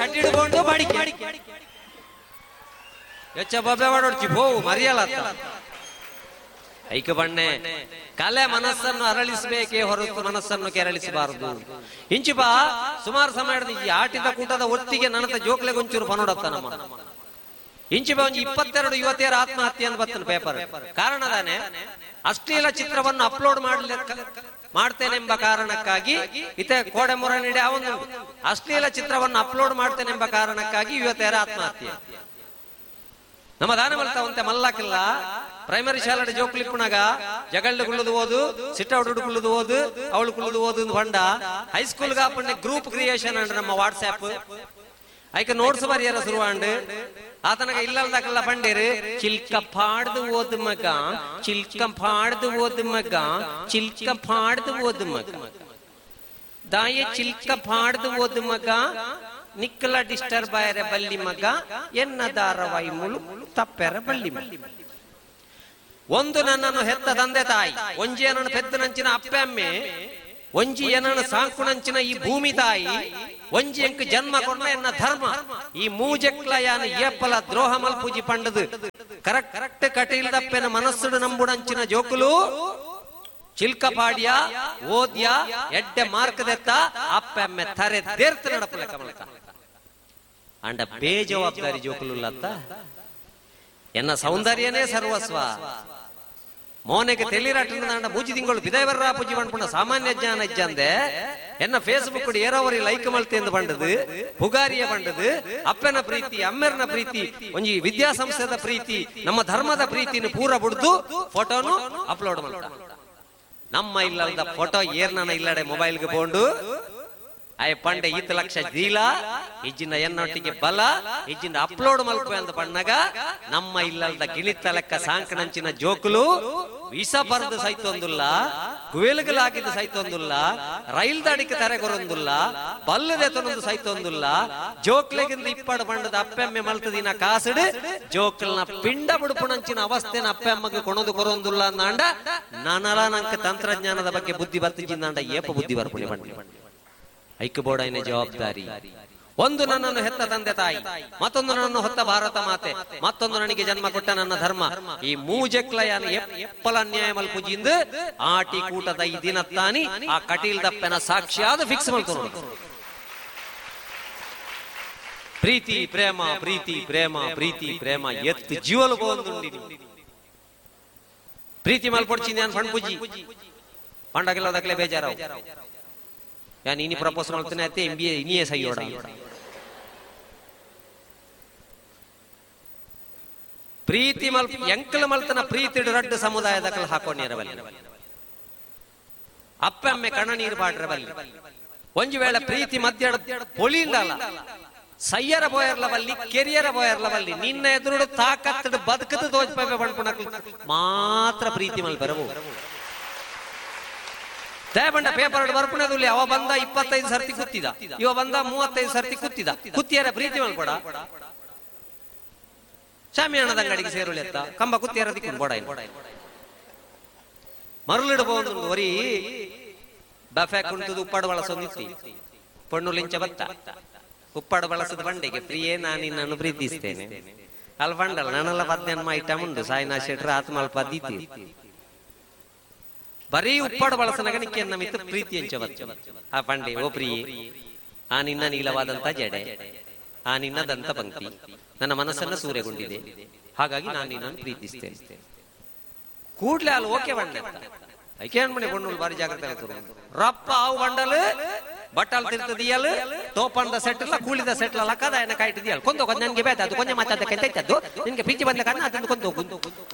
ಚಡ್ಡಿಡು ಕೊಂಡು ಬಾಡಿಕೆ ಹೆಚ್ಚ ಬೊಬ್ಬೆ ಮಾಡೋಡ್ಚಿ ಹೋವು ಮರಿಯಲ್ಲ. ಐಕ ಬಣ್ಣೆ ಕಲೆ ಮನಸ್ಸನ್ನು ಅರಳಿಸಬೇಕೇ ಹೊರತು ಮನಸ್ಸನ್ನು ಕೆರಳಿಸಬಾರದು. ಇಂಚಿಪ ಸುಮಾರು ಸಮಯದ ಈ ಆಟಿದ ಕೂಟದ ಒತ್ತಿಗೆ ನನತ ಜೋಕ್ಲೆ ಗೊಂಚೂರು ಪನೋಡತ್ತ ನಮ್ಮ ಇಂಚಿಪ ಒಂಜಿ 22 ಯುವತಿಯರ ಆತ್ಮಹತ್ಯೆ ಅಂತ ಬರ್ತನ ಪೇಪರ್. ಕಾರಣದಾನೆ ಅಶ್ಲೀಲ ಚಿತ್ರವನ್ನು ಅಪ್ಲೋಡ್ ಮಾಡ್ತೇನೆಂಬ ಕಾರಣಕ್ಕಾಗಿ ಇತ ಕೋಡೆ ಮೊರ ನೀಡಿ ಅವನು ಅಶ್ಲೀಲ ಚಿತ್ರವನ್ನು ಅಪ್ಲೋಡ್ ಮಾಡ್ತೇನೆಂಬ ಕಾರಣಕ್ಕಾಗಿ ಯುವತಿಯರ ಆತ್ಮಹತ್ಯೆ. ನಮ್ಮ ದಾನ ಮಲ್ತಾವಂತೆ ಮಲ್ಲಾಕಿಲ್ಲ ಪ್ರೈಮರಿ ಶಾಲೆ ಜೋಕ್ಲಿಪ್ಪುನಾಗ ಜಗಳ್ಳು ಕುಳ್ಳುದು ಓದು, ಸಿಟ್ಟೌಡು ಕುಳ್ಳುದು ಓದು, ಅವಳು ಕುಳ್ಳುದು ಓದು ಬಂಡ. ಹೈಸ್ಕೂಲ್ ಗಾಪಣ್ಣೆ ಗ್ರೂಪ್ ಕ್ರಿಯೇಷನ್ ಅಂಡ್ ನಮ್ಮ ವಾಟ್ಸ್ಆಪ್ ಐಕ ನೋಟ್ಸ್ ಬರಿಯರ ಶುರುವಾಂಡ್. ಆತನಗ ಇಲ್ಲಲ್ದಕಲ್ಲ ಪಂಡೇರು ಚಿಲ್ಕ ಪಾಡ್ದು ಓದು ಮಗ, ಚಿಲ್ಕ ಪಾಡ್ದು ಓದು ಮಗ, ಚಿಲ್ಕ ಪಾಡ್ದು ಓದು ಮಗ, ದಾಯ ಚಿಲ್ಕ ಪಾಡ್ದು ಓದು ಮಗ, ನಿಕ್ಕಲ ಡಿಸ್ಟರ್ಬ್ ಆಯರೆ ಬಲ್ಲಿ ಮಗ, ಎನ್ನ ದಾರವಾಯಿ ಮುಳು ತಪ್ಪೆರ ಬಲ್ಲಿ ಮಗ. ಒಂದು ನನ್ನನ್ನು ಹೆತ್ತ ತಂದೆ ತಾಯಿ, ಒಂಜಿ ಏನನ್ನು ಪೆದ್ದನಂಚಿನ ಅಪ್ಪೆ ಅಮ್ಮೆ, ಒಂಜಿ ಏನನ್ನು ಸಾಂಕುನಂಚಿನ ಈ ಭೂಮಿ ತಾಯಿ, ಒಂಜಿ ಎಂಕ್ ಜನ್ಮ ಕೊಡ್ನ ಎನ್ನ ಧರ್ಮ, ಈ ಮೂಜೆಕ್ಲ ಯಾನ ಏಪಲ ದ್ರೋಹ ಮಲ್ಪೂಜಿ ಪಂಡದು ಕರೆಕ್ಟ್ ಕರೆಕ್ಟ್ ಕಟೀಲ್ದಪ್ಪೆನ ಮನಸ್ಸುಡು ನಂಬುಡಂಚಿನ ಜೋಕುಲು ಚಿಲ್ಕಪಾಡ್ಯ ಓದ್ಯ ಎಡ್ಡೆ ಮಾರ್ಕದೆತ್ತ ಅಪ್ಪೆ ಅಮ್ಮೆ ತರೆ ದೇರ್ತ ನಡಪುಲೆ ಕಮಲಕ ಅಂಡ ಬೇಜವಾಬ್ದಾರಿ ಜೋಕುಲುಲ್ಲತ್ತ. ಎನ್ನ ಸೌಂದರ್ಯನೇ ಸರ್ವಸ್ವ. ಮೋನೆಗೆ ತೆಲಿರಾಟ ಮೂಜಿ ತಿಂಗಳು ಬಿದಾಯ ಪೂಜಿ ಪಂಡ್ಪುಣ ಸಾಮಾನ್ಯ ಜ್ಞಾನ ಇಜ್ಜಂದೆ ಎನ್ನ ಫೇಸ್ಬುಕ್ ಏರೋವರಿ ಲೈಕ್ ಮಲ್ತೆಂದು ಬಂಡದು, ಪುಗಾರಿಯ ಬಂಡದು, ಅಪ್ಪನ ಪ್ರೀತಿ, ಅಮ್ಮೆರ್ನ ಪ್ರೀತಿ, ಒಂಜಿ ವಿದ್ಯಾಸಂಸ್ಥೆದ ಪ್ರೀತಿ, ನಮ್ಮ ಧರ್ಮದ ಪ್ರೀತಿನ ಪೂರ ಬಿಡ್ದು ಫೋಟೋನು ಅಪ್ಲೋಡ್ ಮಾಡ್ತ. ನಮ್ಮ ಇಲ್ಲದ ಫೋಟೋ ಏರ್ನ ಇಲ್ಲಡೆ ಮೊಬೈಲ್ಗೆ ಬೋಂಡು ಆಯ್ ಪಂಡೆ ಈತ ಲಕ್ಷ ದೀಲ ಇಜ್ಜಿನ ಎನ್ನೊಟ್ಟಿಗೆ ಬಲ ಇಜ್ಜಿನ ಅಪ್ಲೋಡ್ ಮಲ್ಪೆ ಅಂತ ಬಣ್ಣಗ ನಮ್ಮ ಇಲ್ಲದ ಗಿಳಿತ ಲೆಕ್ಕ ಸಾಂಕಣಂಚಿನ ಜೋಕುಲು ವಿಷ ಬರೆದು ಸೈತೊಂದುಲ್ಲ, ಗುವೆಲ್ಗಲಾಗಿದ್ದು ಸೈತೊಂದುಲ್ಲ, ರೈಲ್ ದಾಡಿಗೆ ತರೆಗೊರೊಂದುಲ್ಲ, ಬಲ್ಲದೆತನೊಂದು ಸೈತೊಂದುಲ್ಲ. ಜೋಕ್ಲೆಗಿಂದ ಇಪ್ಪಾಡು ಬಣ್ಣದ ಅಪ್ಪೆಮ್ಮೆ ಮಲ್ತದಿನ ಕಾಸುಡು ಜೋಕಲ್ನ ಪಿಂಡ ಬುಡುಪುಣಂಚಿನ ಅವಸ್ಥೆನ ಅಪ್ಪೆಮ್ಮಗೆ ಕೊಣದು ಕೊರೊಂದುಲ್ಲ ಅಂದಾಂಡ ನಾನಲ ನಂಕ ತಂತ್ರಜ್ಞಾನದ ಬಗ್ಗೆ ಬುದ್ಧಿ ಬರ್ತಿಜಿಂದಾಂಡ ಏಪ ಬುದ್ಧಿ ಬರ್ಪುಣಿ ಬಣ್ಣ. ಐಕ್ಯಬೋರ್ಡ್ ಜವಾಬ್ದಾರಿ. ಒಂದು ನನ್ನನ್ನು ಹೆತ್ತ ತಂದೆ ತಾಯಿ, ಮತ್ತೊಂದು ನನ್ನನ್ನು ಹೊತ್ತ ಭಾರತ ಮಾತೆ, ಮತ್ತೊಂದು ನನಗೆ ಜನ್ಮ ಕೊಟ್ಟ ನನ್ನ ಧರ್ಮ. ಈ ಮೂಜೆಕ್ಲಯಾನ ಎಪ್ಪಲ ಅನ್ಯಾಯ ಮಲ್ಪುಜಿಂದ ಆಟಿ ಕೂಟದ ಈ ದಿನತ್ತಾನಿ ಆ ಕಟೀಲ್ ದಪ್ಪನ ಸಾಕ್ಷಿಯಾದ ಫಿಕ್ಸ್ ಮಲ್ತು. ಪ್ರೀತಿ ಪ್ರೇಮ ಪ್ರೀತಿ ಪ್ರೇಮ ಪ್ರೀತಿ ಪ್ರೇಮ ಎತ್ತು ಜೀವಲು ಬೋಂದುಂಡಿ ಪ್ರೀತಿ ಮಲ್ಪೊಡ್ಚಿಂದ ಫಣ್ ಪೂಜಿ ಪಂಡಗೆಲ್ಲ ದಕ್ಲೆ ಬೇಜಾರಾವು. ಯಾನ್ ಇನಿ ಪ್ರಪೋಸ್ ಮಾಡ್ತೇನೆ ಅತ್ತೆ ಎಂ ಬಿ ಎ ಇನಿಯೇ ಸೈಯೋಡ. ಪ್ರೀತಿ ಮಲ್ ಎಂಕಲ ಮಲ್ತನ ಪ್ರೀತಿ ರಡ್ಡು ಸಮುದಾಯದ ಕಲ್ ಹಾಕೊಂಡಿರಬಲ್ಲಿ, ಅಪ್ಪಮ್ಮೆ ಕಣ ನೀರು ಪಾಡ್ರಬಲ್ಲಿ. ಒಂಜಿ ವೇಳೆ ಪ್ರೀತಿ ಮಧ್ಯ ಪೊಳಿಂದಲ್ಲ ಸಯ್ಯರ ಬೋಯರ್ಲ ಬಲ್ಲಿ, ಕೆರಿಯರ ಬೋಯರ್ಲ ಬಲ್ಲಿ, ನಿನ್ನ ಎದುರು ತಾಕತ್ತು ಬದುಕದು ತೋಜ್ಪೆ ಬಂಡ್ಪುಣಕ್ಲು ಮಾತ್ರ ಪ್ರೀತಿ ಮಲ್ ಬರವು. ದಯಬಂಡ ಪೇಪರ್ ಬರ್ಪುಣದಲ್ಲಿ ಅವ ಬಂದ 25 ಸರ್ತಿ ಕುತ್ತಿದ, ಇವ ಬಂದ 35 ಸರ್ತಿ ಕುತ್ತಿದ, ಕುತ್ತಿಯರ ಪ್ರೀತಿ ಮಲ್ಕೊಡ ಶಾಮಿಯಾಣದ ಅಂಗಡಿಗೆ ಸೇರುಳಿ ಅತ್ತ ಕಂಬ ಕುತ್ತಿಯರ ದಿಕ್ಕು ಬೋಡ ಮರಳಿಡಬಹುದು. ಒರಿ ಬಫೆ ಕುಂಟುದು ಉಪ್ಪಾಡು ಬಳಸೊಂದಿತ್ತಿ ಪಣ್ಣು ಲಿಂಚ ಬತ್ತ ಉಪ್ಪಾಡು ಬಳಸದ ಬಂಡೆಗೆ ಪ್ರಿಯೇ ನಾನು ನಿನ್ನನ್ನು ಪ್ರೀತಿಸ್ತೇನೆ ಅಲ್ಲಿ ಬಂಡಲ್ಲ ನಾನೆಲ್ಲ ಪದ್ನೆನ್ಮ ಐಟಮ್ ಉಂಟು ಸಾಯಿನಾ ಶೆಟ್ರ ಆತ್ಮಲ್ಪ ಪದ್ಧತಿ ಬರೀ ಉಪ್ಪಾಡು ಬಳಸನಗ ನಿಕ್ಕೆ ನಮಿತ್ತು ಪ್ರೀತಿ ಎಂಚ ಬತ್ತ ಆ ಪಂಡೆ ಓ ಪ್ರಿಯೆ ಆ ನಿನ್ನ ನೀಲವಾದಂತ ಜಡೆ ಆ ನಿನ್ನ ದಂತ ಪಂಕ್ತಿ ನನ್ನ ಮನಸ್ಸನ್ನು ಸೂರೆಗೊಂಡಿದೆ ಹಾಗಾಗಿ ನಾನು ನಿನ್ನನ್ನು ಪ್ರೀತಿಸ್ತೇನೆ. ಕೂಡ್ಲೆ ಅಲ್ಲಿ ಓಕೆ ಬಂಡೆ ಐಕೆ ಮನೆ ಕೊಂಡು ಬಾರಿ ಜಾಗ್ರತೆ ಆಗ್ತದೆ ರಪ್ಪ ಆವು ಬಂಡಲು ಬಟ್ಟಲ್ ತಿರ್ತದಿಯಲ್ ತೋಪಂದ ಸೆಟ್ಲ ಕೂಳಿದ ಸೆಟ್ಲ ಲಕ್ಕದ ಏನ ಕಾಯ್ತಿದ್ಯಲ್ ಕೊಂದು ನನಗೆ ಬೇಕಾದ್ದು ಕೊಂಜ ಮಾತಾಡಕ್ಕೆ ನಿನ್ಗೆ ಪಿಂಚಿ ಬಂದ ಕಾರಣ ಅದನ್ನು ಕೊಂದು ಹೋಗು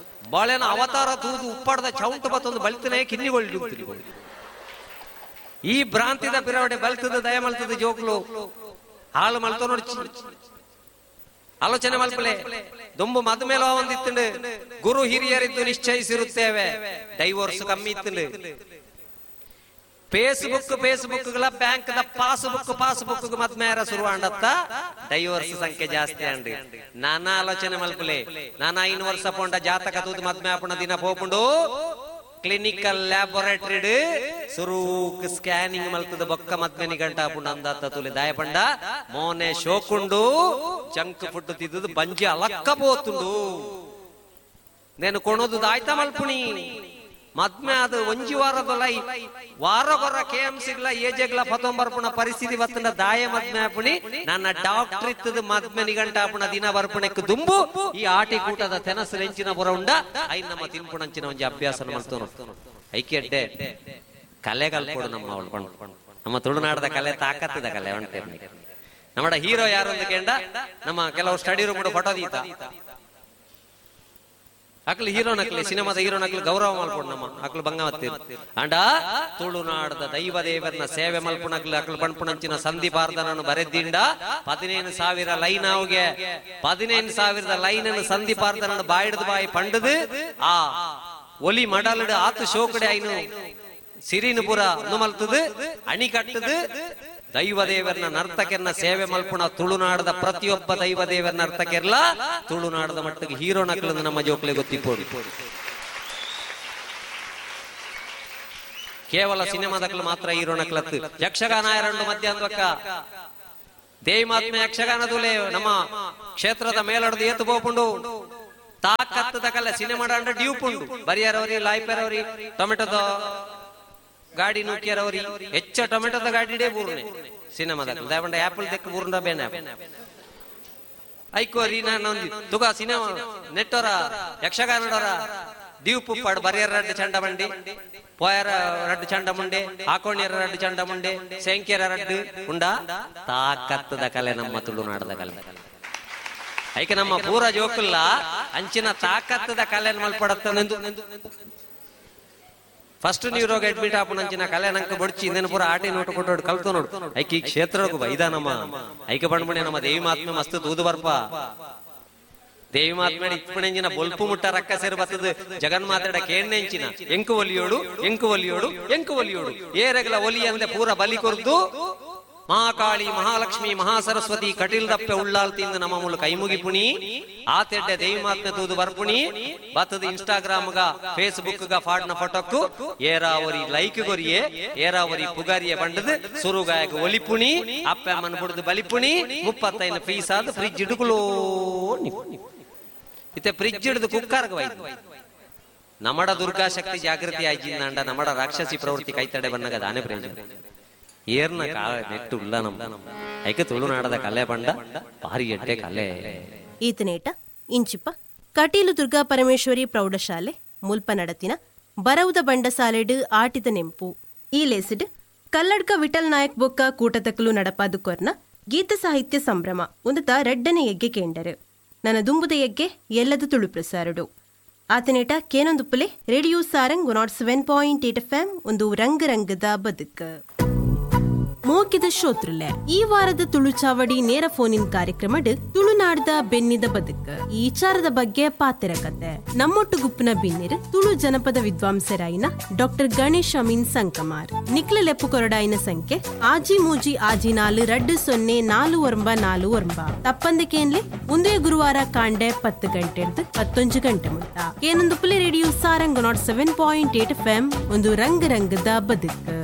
ಬಾಳೆನ ಅವತಾರ ತೂದು ಉಪ್ಪಾಡದ ಚೌಂಟು ಬತ್ತೊಂದು ಬಲ್ತನೆ ಕಿನ್ನಿಗೊಳ್ಳಿ ಈ ಭ್ರಾಂತಿದ ಪಿರವಡೆ ಬಲ್ತದ ದಯ ಮಲ್ತದ ಜೋಕ್ಲು ಹಾಳು ಮಲ್ತೋ ನೋಡಿ ಆಲೋಚನೆ ಮಲ್ಪಲೆ ದೊಂಬು ಮದ ಮೇಲೆ ಒಂದಿತ್ತಂಡು ಗುರು ಹಿರಿಯರಿದ್ದು ನಿಶ್ಚಯಿಸಿರುತ್ತೇವೆ ಡೈವೋರ್ಸ್ ಕಮ್ಮಿ ಇತ್ತಂಡು Facebook Facebook bank the passbook passbook ಮದ್ಮೇರ ಶುರುವಾಂಡತ್ತ divorce ಸಂಖ್ಯೆ ಜಾಸ್ತಿ ಅಂಡ್ ನಾನಾ ಆಲೋಚನೆ ಮಲ್ಪಲೆ ನಾನಾ 5 ವರ್ಷ ಪೋಂಡ ಜಾತಕ ತೂದು ಮದ್ಮೆ ಆಪುಣ ದಿನ ಪೋಪುಂಡು ಕ್ಲಿನಿಕಲ್ ಲ್ಯಾಬೊರೇಟರಿ ಸುರೂಕ್ ಸ್ಕ್ಯಾನಿಂಗ್ ಮಲ್ತದ ಬೊಕ್ಕ ಮದ್ಮೆ ಗಂಟ ಆಪುಂಡು ಅಂದಾತ ತುಲಿ ದಾಯಪಂಡ ಮೋನೆ ಶೋಕುಂಡು ಜಂಕ್ ಫುಡ್ ತಿದ್ದು ಬಂಜಿ ಅಲಕ್ಕ ಪೋತುಂಡು. ನೇನು ಕೊಣೋದು ದಾಯ್ತ ಮಲ್ಪುಣಿ ಮದ್ಮೆ ಅದು ಒಂಜಿ ವಾರದೊಲೈ ವಾರ ಗೊರ ಕೆ ಎಂ ಸಿಗ್ಲ ಏಜೆಗ್ಲ ಪತೊಂಬರ್ಪುಣ ಪರಿಸ್ಥಿತಿ ಬತ್ತಂಡ ದಾಯ ಮದ್ಮೆ ಆಪುಣಿ. ನನ್ನ ಡಾಕ್ಟರ್ ಇತ್ತದ ಮದ್ಮೆ ನಿಗಂಟ ಆಪುಣ ದಿನ ಬರ್ಪುಣಕ್ಕೆ ದುಂಬು ಈ ಆಟಿ ಕೂಟದ ತೆನಸು ರೆಂಚಿನ ಬುರ ಉಂಡ I ನಮ್ಮ ತಿನ್ಪುಣಂಚಿನ ಒಂಜಿ ಅಭ್ಯಾಸ ಮಲ್ತೋನು. ಐಕೆಡ್ಡೆ ಕಲೆಗಲ್ಪಡು ನಮ್ಮ ಅವಳು ನಮ್ಮ ತುಳುನಾಡದ ಕಲೆ ತಾಕತ್ತದ ಕಲೆ ಉಂಟೆ. ನಮ್ಮ ಹೀರೋ ಯಾರು ಅಂತ ಕೇಂಡ ನಮ್ಮ ಕೆಲವು ಸ್ಟಡಿ ರೂಮ್ ಫೋಟೋ ದೀತ ಅಕ್ಲು ಹೀರೋ ನಕ್ಲಿ ಸಿನಿಮಾದ ಹೀರೋ ನಕ್ಲು ಗೌರವ ಮಲ್ಪುಂಡು ನಮ್ಮ ಅಕ್ಲು ಬಂಗಮತ್ತಿ ಅಂಡ ತುಳುನಾಡದ ದೈವ ದೇವರನ್ನ ಸೇವೆ ಮಲ್ಪುಣಕ್ಲು ಅಕ್ಲು ಪಣ್ಪುಣಂಚಿನ ಸಂಧಿಪಾರ್ದನನ್ನು ಬರೆದಿಂಡ 15,000 ಲೈನ್ ಅವುಗೆ 15,000 ಲೈನ್ ಅನ್ನು ಸಂಧಿಪಾರ್ದನನ್ನು ಬಾಯಿಡ್ದು ಬಾಯಿ ಪಂಡದು ಆ ಒಲಿ ಮಡಲಡು ಆತು ಶೋಕಡೆ ಐನು ಸಿರಿನುಪುರ ಮಲ್ತದು ಅಣಿ ಕಟ್ಟದು ದೈವ ದೇವರನ್ನ ನರ್ತಕರ್ನ ಸೇವೆ ಮಲ್ಪುಣ ತುಳುನಾಡದ ಪ್ರತಿಯೊಬ್ಬ ದೈವ ದೇವರ ನರ್ತಕರ್ಲ ತುಳುನಾಡದ ಮಟ್ಟಿಗೆ ಹೀರೋ ನಕಲು ನಮ್ಮ ಜೋಕ್ಲೆ ಗೊತ್ತಿಪ್ಪೋಡು. ಕೇವಲ ಸಿನಿಮಾದಕ್ಲು ಮಾತ್ರ ಹೀರೋ ನಕಲತ್ತು. ಯಕ್ಷಗಾನ ಎರಡು ಮಧ್ಯಾಹ್ನಕ್ಕ ದೇವಿ ಮಾತ್ಮೆ ಯಕ್ಷಗಾನದುಲೇ ನಮ್ಮ ಕ್ಷೇತ್ರದ ಮೇಲಡದು ಏತು ಬೋಪುಂಡು ತಾಕತ್ತದ ಕಲ್ಲ ಸಿನಿಮಾ ಅಂಡ ಡ್ಯೂಪುಂಡು ಬರಿಯರವರಿ ಲಾಯ್ಪೆರವರಿ ಟೊಮೆಟೊದ ಗಾಡಿ ನೂಕಿಯರವರಿ ಹೆಚ್ಚ ಟೊಮೆಟೊದ ಗಾಡಿಡೇ ಬೂರ್ನೆ ಸಿನಿಮಾದ ದಯಪಂಡ ಆಪಲ್ ದೆಕ್ಕ ಬೂರ್ನ ಬೇನೆ ಐಕೋರಿ ನಾನು ತುಗ ಸಿನಿಮಾ ನೆಟ್ಟೋರ ಯಕ್ಷಗಾನಡೋರ ಡ್ಯೂಪು ಪಾಡು ಬರಿಯರ ರಡ್ಡು ಚಂಡ ಬಂಡಿ ಪೋಯರ ರಡ್ಡು ಚಂಡ ಮುಂಡೆ ಆಕೋಣ್ಯರ ರಡ್ಡು ಚಂಡ ಮುಂಡೆ ಸೇಂಕ್ಯರ ರಡ್ಡು ಉಂಡ ತಾಕತ್ತದ ಕಲೆ ನಮ್ಮ ತುಳುನಾಡದ ಕಲೆ. ಐಕೆ ನಮ್ಮ ಪೂರ ಜೋಕುಲ್ಲ ಅಂಚಿನ ತಾಕತ್ತದ ಕಲೆ ಮಲ್ಪಡತ್ತನೆಂದು ಫಸ್ಟ್ ನೀರೋಗ ಅಡ್ಮಿಟ್ ಆಪುಣಂಚಿನ ಕಲೆ ನಂಕ ಬೊಡ್ಚಿ ಇಂದೇನು ಪೂರ ಆಟಿ ನೋಟು ಕೊಟ್ಟೋಡು ಕಲ್ತು ನೋಡು. ಐಕೆ ಈ ಕ್ಷೇತ್ರಕ್ಕೂ ಬೈದ ನಮ್ಮ ಐಕೆ ಬಂಡ್ಮಣಿ ನಮ್ಮ ದೇವಿ ಮಾತ್ಮೆ ಮಸ್ತ್ ತೂದು ಬರ್ಪ ದೇವಿ ಮಾತ್ಮೆ ಇಪ್ಪಣೆಂಜಿನ ಬೊಲ್ಪು ಮುಟ್ಟ ರಕ್ಕ ಸೇರು ಬತ್ತದ ಜಗನ್ಮಾತೆಡ ಕೇಣ್ಣೆಂಚಿನ ಎಂಕು ಒಲಿಯೋಡು ಎಂಕು ಒಲಿಯೋಡು ಎಂಕು ಒಲಿಯೋಡು ಏರೆಗಲ ಒಲಿ ಅಂದೆ ಪೂರ ಬಲಿ ಕೊರ್ದು ಮಹಾಕಾಳಿ ಮಹಾಲಕ್ಷ್ಮಿ ಮಹಾಸರಸ್ವತಿ ಕಟೀಲ್ ದಪ್ಪೆ ಉಳ್ಳಾಲ್ ತಿಂದು ನಮ್ಮ ಮೂಲಕ ಕೈಮುಗಿ ಪುಣಿ ಆತೆಡ್ಡೆ ದೇವಿ ಮಾತ್ಮೆ ತೂದು ಬರ್ಪುಣಿ ಬತ್ತದ ಇನ್ಸ್ಟಾಗ್ರಾಮ್ ಗ ಫೇಸ್ಬುಕ್ ಗ ಫಾಡ್ನ ಫೋಟೋಕ್ಕು ಏರಾವರಿ ಲೈಕ್ ಗೊರಿಯೆ ಏರಾವರಿ ಪುಗಾರಿಯ ಬಂಡದು ಸುರುಗಾಯಕ ಒಲಿಪುಣಿ ಅಪ್ಪ ಅಮ್ಮನ ಬುಡ್ದು ಬಲಿಪುಣಿ 35 ಪೀಸ್ ಆದ ಫ್ರಿಜ್ ಇಡುಗುಲೋ ಇತ್ತೆ ಫ್ರಿಜ್ ಹಿಡಿದು ಕುಕ್ಕರ್ಗ ವೈದು ನಮಡ ದುರ್ಗಾಶಕ್ತಿ ಜಾಗೃತಿ ಆಯ್ಜಿಂದ ನಮಡ ರಾಕ್ಷಸಿ ಪ್ರವೃತ್ತಿ ಕೈತಡೆ ಬನ್ನಗ ದಾನೆ ಪ್ರಯೋಜನ ಏರ್ನ ಕಾಲ ನೆಟ್ಟು ಉಲ್ಲ ನಮ್ಮ ಐಕ ತುಳುನಾಡದ ಕಲೆ ಬಂಡ ಭಾರಿ ಎಡ್ಡೆ ಕಲೆ. ಈತನೇಟ ಇಂಚಿಪ ಕಟೀಲು ದುರ್ಗಾ ಪರಮೇಶ್ವರಿ ಪ್ರೌಢಶಾಲೆ ಮುಲ್ಪ ನಡತಿನ ಬರವುದ ಬಂಡಸಾಲೆಡು ಆಟಿದ ನೆಂಪು ಈ ಲೇಸಿಡ್ ಕಲ್ಲಡ್ಕ ವಿಠಲ್ ನಾಯಕ್ ಬೊಕ್ಕ ಕೂಟತಕಲು ನಡಪಾದು ಕೊರ್ನ ಗೀತ ಸಾಹಿತ್ಯ ಸಂಭ್ರಮ ಒಂದತ ರಡ್ಡನೆ ಎಗ್ಗೆ ಕೇಂಡರು ನನ್ನ ದುಂಬುದ ಎಗ್ಗೆ ಎಲ್ಲದ ತುಳು ಪ್ರಸಾರಡು ಆತನೇಟ ಕೇನೊಂದು ಪುಲೆ ರೇಡಿಯೋ ಸಾರಂಗ್ 107.8 FM ಒಂದು ರಂಗ ರಂಗದ ಬದುಕು. ಮೋಕಿದ ಶ್ರೋತೃಲೆ ಈ ವಾರದ ತುಳು ಚಾವಡಿ ನೇರ ಫೋನಿನ್ ಕಾರ್ಯಕ್ರಮಡ್ ತುಳುನಾಡದ ಬೆನ್ನಿದ ಬದುಕ ಈ ವಿಚಾರದ ಬಗ್ಗೆ ಪಾತೆರ ಕತೆ ನಮ್ಮೊಟ್ಟು ಗುಪ್ಪನ ಬಿನ್ನಿರ್ ತುಳು ಜನಪದ ವಿದ್ವಾಂಸರಾಯಿನ ಡಾಕ್ಟರ್ ಗಣೇಶ್ ಅಮೀನ್ ಸಂಕಮಾರ್ ನಿಕ್ಲ ಲೆಪ್ಪು ಕೊರಡಾಯಿನ ಸಂಖ್ಯೆ ಆಜಿ ಮೂಜಿ ಆಜಿ 4 2 0 4 9 4 9 ತಪ್ಪಂದ ಕೇನ್ಲೆ ಒಂದೇ ಗುರುವಾರ ಕಾಂಡೆ 10 ಗಂಟೆ 11 ಗಂಟೆ ಮುಟ್ಟ ಏನೊಂದು ಪುಲಿ ರೇಡಿಯೋ ಸಾರಂಗ್ 107.8 FM ಒಂದು ರಂಗ ರಂಗದ ಬದುಕು.